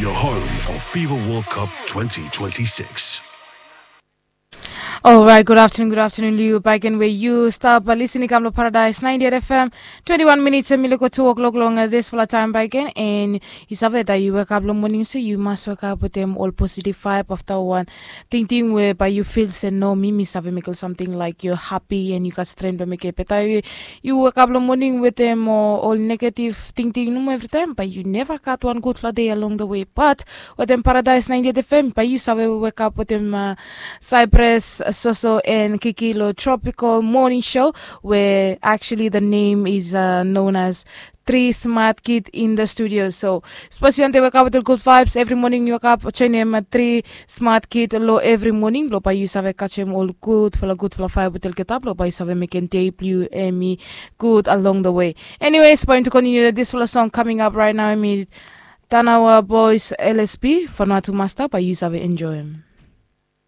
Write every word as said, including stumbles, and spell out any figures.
Your home of FIFA World Cup twenty twenty-six. Alright, good afternoon, good afternoon, Liu. Baik en we yu stap listening kam lo Paradise ninety-eight F M. Twenty-one minutes and mi luko two o'clock long uh, this fala time baik en. And yu save that yu wake up lo morning, so yu must wake up with them all positive vibe after one. Tingting we by yu feel se no, mi mi save mekel something like yu happy and yu gat strength by meke beta. Yu wake up lo morning with them uh, all negative tingting nomo every time, but yu never gat one good fala day along the way. But with them Paradise ninety-eight F M, by yu save wake up with them uh, Cypress, Soso and Kiki lo Tropical Morning Show, where actually the name is uh, known as Three Smart Kid in the Studio. So, suppose yu want to wake up with the good vibes every morning, yu wake up, join them at Three Smart Kid lo every morning. Lo by yu save catch them all good fala good fala vibe with the get up. Lo by yu save make them day blue and me good along the way. Anyways, going to continue this fala song coming up right now. Me Tanawa Boys L S P, Vanuatu Master, by yu save enjoy them.